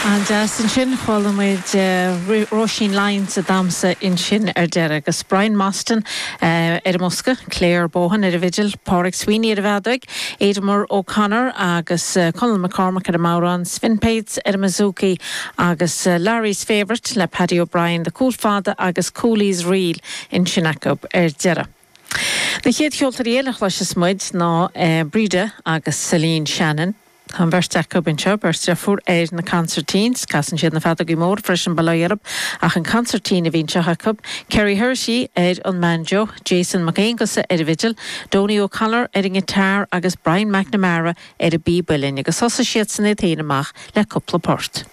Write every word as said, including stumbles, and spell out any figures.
An-deas ansin chuala muid uh, Róisín Lyons ag damhsa ansin ar deireadh agus Brian Mostyn uh, ar an mbosca, Claire Bohan ar an bhfidil, Pádraig Sweeney ar an bhfeadóg, Edmur O'Connor agus uh, Conall McCormack ar an mbodhrán, Sven Pates ar an mbouzouki agus uh, Larry's Favourite le Paddy O'Brien, the Cúl Fada agus Cooley's Reel ansin acu ar deireadh. Na chéad cheoltóirí eile a chloisfeas muid ná uh, Breda agus Celine Shannon. Tá beirt acu anseo beirt deirfiúr ar na concertines, casann siad na feadóga móra freisin bail ach an concertina a bhíonn seo acu, Kerry Hershey ar an mbanjo, Jason McAongusa ar an bhfidil, Donny O'Connor ar an guitar agus Brian McNamara ar an bpíb uilleann agus thosaigh siad san iad féin amach le cúpla port.